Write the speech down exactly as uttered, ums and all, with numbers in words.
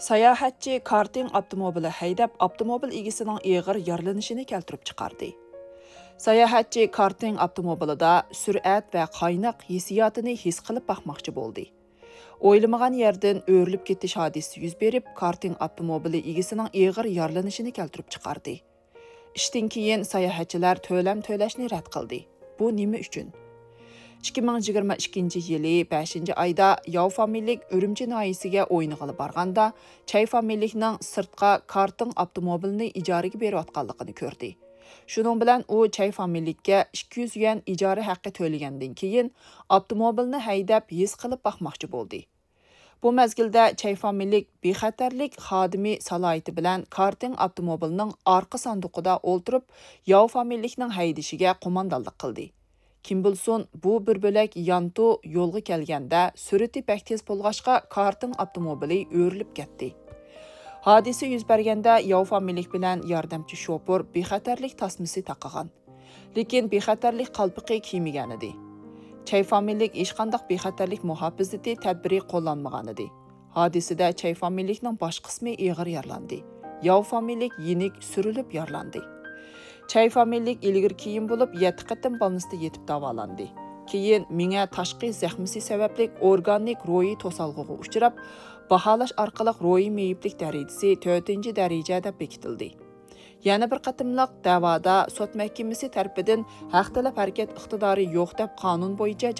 ساياھەتچى كارتىڭ ئاپتوموبىلى ھەيدەپ، ئاپتوموبىل ئىگىسىنىڭ ئېغىر يارىلىنىشىنى كەلتۈرۈپ چىقاردى. ساياھەتچى كارتىڭ ئاپتوموبىلىدا سۈرئەت ۋە قايناق ھېسسىياتىنى ھېس قىلىپ باقماقچى بولدى. ئويلىمىغان يەردىن ئۆرۈلۈپ كېتىش ھادىسىسى يۈز بېرىپ، كارتىڭ ئاپتوموبىلى ئىگىسىنىڭ ئېغىر يارىلىنىشىنى كەلتۈرۈپ چىقاردى. ئىشتىن كېيىن ساياھەتچىلەر تۆلەم تۆلەشنى رەت قىلدى. بۇ نېمە ئۈچۈن؟ ئىككى مىڭ يىگىرمە ئىككىنچى يىلى بەشىنچى ئايدا ياۋ فامىلىلىك ئۈرۈمچى ناھىيەسىگە ئوينىغىلى بارغاندا، چەي فامىلىلىكنىڭ سىرتقا كارتىڭ ئاپتوموبىلىنى ئىجارىگە بېرىۋاتقانلىقىنى كۆردى. شۇنىڭ بىلەن ئۇ چەي فامىلىلىككە ئىككى يۈز يۈەن ئىجارە ھەققى تۆلىگەندىن كېيىن، ئاپتوموبىلنى ھەيدەپ ھېس قىلىپ باقماقچى بولدى. بۇ مەزگىلدە چەي فامىلىلىك بىخەتەرلىك خادىمى سالاھىيىتى بىلەن كارتىڭ ئاپتوموبىلىنىڭ ئارقا ساندۇقىدا ئولتۇرۇپ، ياۋ فامىلىلىكنىڭ ھەيدىشىگە قوماندانلىق قىلدى. كىم بىلسۇن، بۇ بىر بۆلەك يانتۇ يولغا كەلگەندە، سۈرئىتى بەك تېز بولغاچقا، كارتىڭ ئاپتوموبىلى ئۆرۈلۈپ كەتتى. ھادىسە يۈز بەرگەندە، ياۋ فامىلىلىك بىلەن ياردەمچى شوپۇر بىخەتەرلىك تاسمىسى تاقىغان. لېكىن بىخەتەرلىك قالپىقى كىيمىگەنىدى. چەي فامىلىلىك ھېچقانداق بىخەتەرلىك مۇھاپىزىتى تەدبىرى قوللانمىغانىدى. ھادىسىدە چەي فامىلىلىكنىڭ باش قىسمى ئېغىر يارىلاندى. ياۋ فامىلىلىك يېنىك سۈرۈلۈپ يارىلاندى. چەي فامىلىلىك ئىلگىرى كېيىن بولۇپ يەتتە قېتىم بالنىستا يېتىپ داۋالاندى. كېيىن مېڭە تاشقى زەخمىسى سەۋەبلىك ئورگانىك روھىي توسالغۇغا ئۇچراپ، باھالاش ئارقىلىق روھىي مېيىپلىك دەرىجىسى تۆتىنچى دەرىجە دەپ بېكىتىلدى. يەنە بىر قېتىملىق دەۋادا سوت مەھكىمىسى تەرىپىدىن ھەق تەلەپ ھەرىكەت ئىقتىدارى يوق دەپ قانۇن بويىچە